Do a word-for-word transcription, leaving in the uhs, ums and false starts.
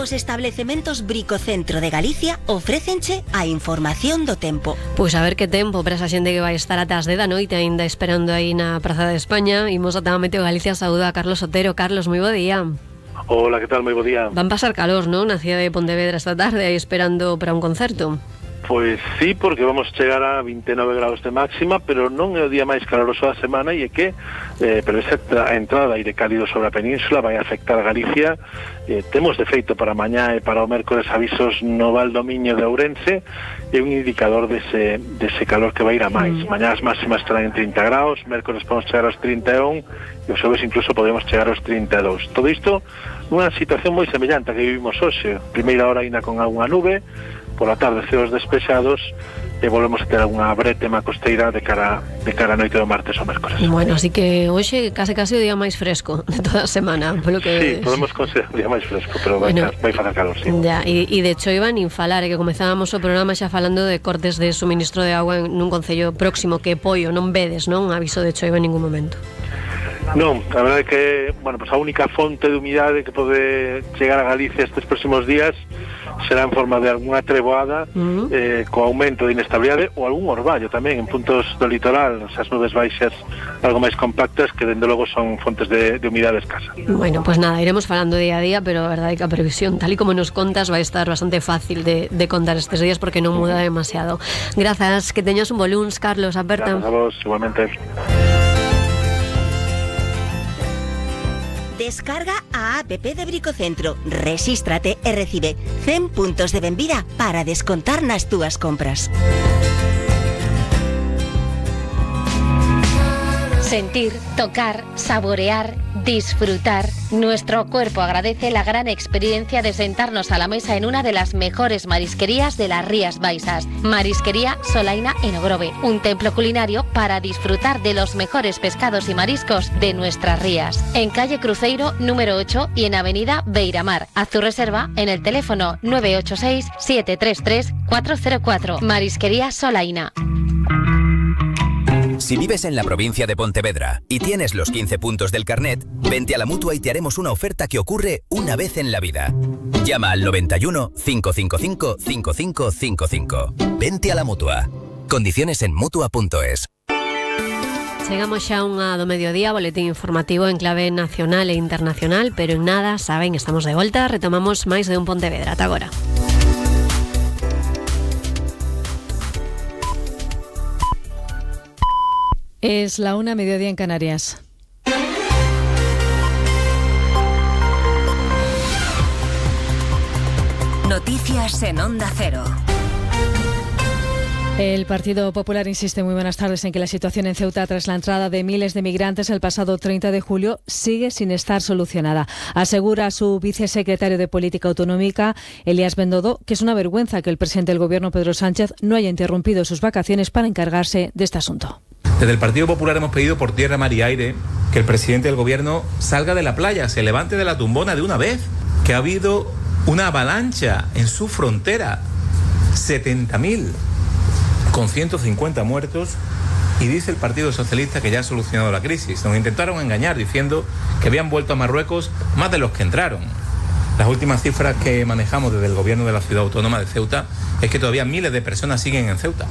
Os establecementos Bricocentro de Galicia ofrécenche a información do tempo. Pois a ver que tempo para esa xente que vai estar ata as dez da noite aínda esperando aí na Praza de España. Imos ata a Meteo Galicia, saúda a Carlos Otero. Carlos, moi bo día. Hola, que tal? Moi bo día. Van pasar calor, non? Na cidade de Pontevedra esta tarde aí esperando para un concerto. Pois sí, porque vamos chegar a vinte e nove graus de máxima, pero non é o día máis caloroso da semana, e é que eh, pero esa entrada de aire cálido sobre a península vai afectar a Galicia. Eh, temos de feito para mañá e para o mércores avisos no Val do Miño de Ourense, e un indicador dese, dese calor que vai ir a máis. Mm. Mañá as máximas estarán en trinta graus, mércores podemos chegar aos trinta e un, e os xoves incluso podemos chegar aos trinta e dous. Todo isto nunha situación moi semellante a que vivimos hoxe. Primeira hora ainda con algunha nube, por a tarde ceos despexados, e volvemos a ter algunha bretema costeira de cara de cara a noite do martes ou mércores. Bueno, así que hoxe case case o día máis fresco de toda a semana, polo que sí, podemos considerar o día máis fresco, pero bueno, vai, vai facer calor, sí. Ya, e, e de hecho iban nin falar, e que comezábamos o programa xa falando de cortes de suministro de agua nun concello próximo, que Poio, non vedes, non? Aviso de choiva en ningún momento. Non, a verdade é que, bueno, pues a única fonte de humidade que pode chegar a Galicia estes próximos días será en forma de algunha treboada, uh-huh. eh, co aumento de inestabilidade, ou algún orballo tamén en puntos do litoral, esas nubes baixas algo máis compactas, que dende logo son fontes de, de humidade escasa. Bueno, pues nada, iremos falando día a día, pero a verdade é que a previsión, tal y como nos contas, vai estar bastante fácil de, de contar estes días, porque non muda demasiado. Grazas, que teñas un bo luns, Carlos, aperta. Grazas a vos, igualmente. Descarga a app de Bricocentro, resístrate e recibe cen puntos de benvida para descontar nas túas compras. Sentir, tocar, saborear, disfrutar. Nuestro cuerpo agradece la gran experiencia de sentarnos a la mesa en una de las mejores marisquerías de las Rías Baixas. Marisquería Solaina en Ogrove, un templo culinario para disfrutar de los mejores pescados y mariscos de nuestras rías. En calle Cruzeiro número ocho y en avenida Beiramar. Haz tu reserva en el teléfono nueve ocho seis, siete tres tres, cuatro cero cuatro. Marisquería Solaina. Si vives en la provincia de Pontevedra y tienes los quince puntos del carnet, vente a la Mutua y te haremos una oferta que ocurre una vez en la vida. Llama al noventa y uno, cinco cinco cinco, cinco cinco cinco cinco. Vente a la Mutua. Condiciones en mutua punto es. Chegamos xa unha do mediodía, boletín informativo en clave nacional e internacional, pero en nada, saben, estamos de volta, retomamos máis de un Pontevedra. Ata agora. Es la una, mediodía en Canarias. Noticias en Onda Cero. El Partido Popular insiste, muy buenas tardes, en que la situación en Ceuta tras la entrada de miles de migrantes el pasado treinta de julio sigue sin estar solucionada. Asegura su vicesecretario de Política Autonómica, Elías Bendodo, que es una vergüenza que el presidente del Gobierno, Pedro Sánchez, no haya interrumpido sus vacaciones para encargarse de este asunto. Desde el Partido Popular hemos pedido por tierra, mar y aire que el presidente del Gobierno salga de la playa, se levante de la tumbona de una vez, que ha habido una avalancha en su frontera, setenta mil, con ciento cincuenta muertos, y dice el Partido Socialista que ya ha solucionado la crisis. Nos intentaron engañar diciendo que habían vuelto a Marruecos más de los que entraron. Las últimas cifras que manejamos desde el Gobierno de la Ciudad Autónoma de Ceuta es que todavía miles de personas siguen en Ceuta.